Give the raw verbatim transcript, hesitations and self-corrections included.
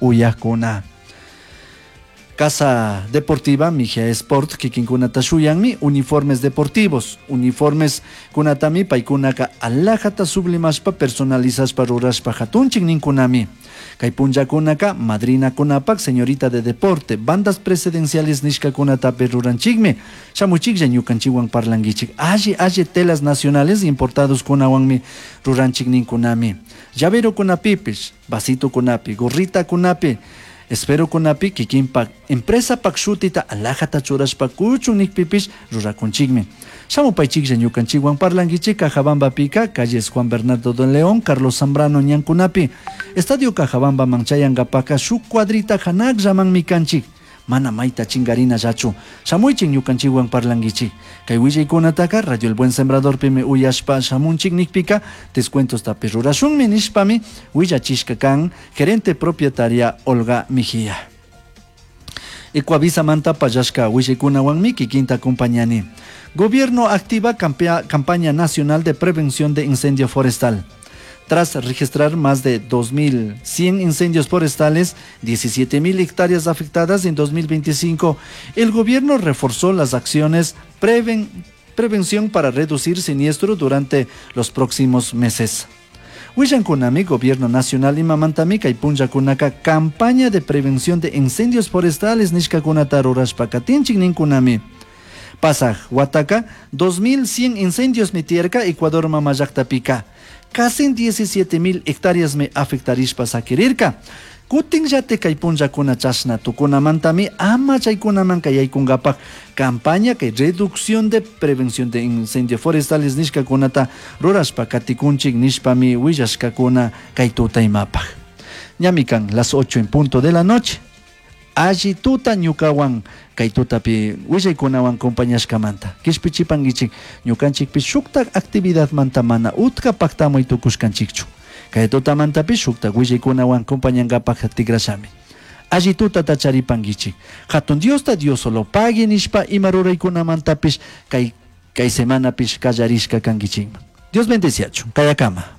Uyajkuna. Casa Deportiva Mejía Sport kikinkunata shuyanmi uniformes deportivos. Uniformes kunatami paykunaka alhajata sublimashpa personalizashpa rurashpa hatunchik ninkunami. Kay punllakunaka madrinakunapak, señorita de deporte, bandas presidenciales nishkakunatapish ruranchikmi. Shamuchiklla, ñukanchikwan parlanguichik. Alli alli telas nacionales importados kunawanmi ruranchik ninkunami. Llavero kunapipish, vasito kunapi, gorrita kunapi, espero kunapi kikinpak empresa pak shutita alhajata churashpa kuchun nikpipish rurakunchikmi. Shamupaichiklla, ñukanchikwan parlanguichik. Cajabambapika calles Juan Bernardo de León, Carlos Zambrano ñankunapi. Estadio Cajabambaman chayankapaka shuk cuadrita hanakllamanmi kanchik. Mana mayta chingarinallachu. Shamuychik, ñukanchikwan parlanguichik. Kay willaykunataka Radio El Buen Sembradorpimi uyashpa shamunchik nikpika descuentostapish rurashunmi nishpami willachishka kan gerente propietaria Olga Mejía. Ecuavisa manta pallashka willaykunawanmi kikinta acompañani. Gobierno activa campaña nacional de prevención de incendio forestal. Tras registrar más de dos mil cien incendios forestales, diecisiete mil hectáreas afectadas en dos mil veinticinco, el gobierno reforzó las acciones preven prevención para reducir siniestro durante los próximos meses. Willankunami Gobierno Nacional imamantami kay punllakunaka campaña de prevención de incendios forestales nishkakunata rurashpa katinchik ninkunami. Pasaj wataka dos mil cien incendios tiyarka Ecuador mama llaktapika. Casi diecisiete mil hectáreas mi afectarishpa sakirirka. Kutinllate kay punllakuna chashna tukunamantami ama chaykunaman yaykunkapak campaña kay reducción de prevención de incendios forestales nishkakunata rurashpa katikunchik nishpami willashkakuna kay tutaymapak. Ñami kan las ocho en punto de la noche. Alli tuta ñukawan kay tutapi willaykunawan compañashkamanta. Kishpichipankichik, ñukanchikpi shuktak actividadmanta mana utka paktamuy tukushkanchikchu. Kay tutamantapish shuktak willaykunawan compañankapak tikrashami. Alli tutata charipankichik. Hatun Diosta Dios solo pagui nishpa ima ruraykunamantapish kay kay semanapish kallarishka kankichikman. Dios bendeciachun. Kayakama.